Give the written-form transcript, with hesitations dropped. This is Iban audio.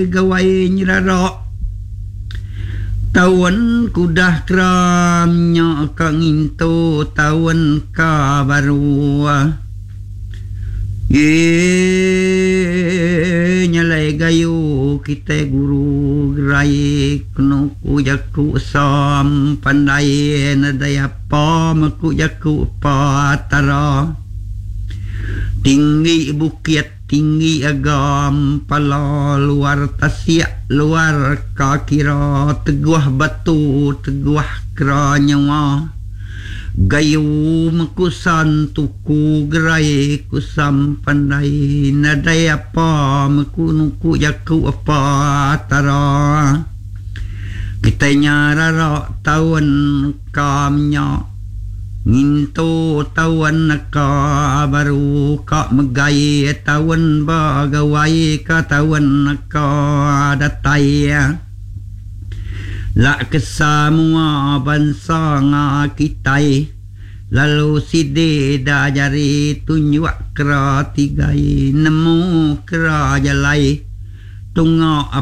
Gawai nyerara taun ke udah keram nya ka ngintu taun ka baru. Eee nyalai gayu kitai guru gerai kenu ku jaku sam pandai nadai apa meku jaku patara. Tinggi bukit Tinggi agam pala luar tasik luar ka kira teguh batu teguh kera nyawa gayu mekusan tuku gerai kusam pandai nadai apa meku nuku jaku apa tara kitai nya rara taun ka menya. Ngintu taun neka baru ka megai taun ba gawai ka taun neka datai. La ke samua bansa nga kitai lalu sidi da jari tunjuk kera tigai nemu kera jalai tunga.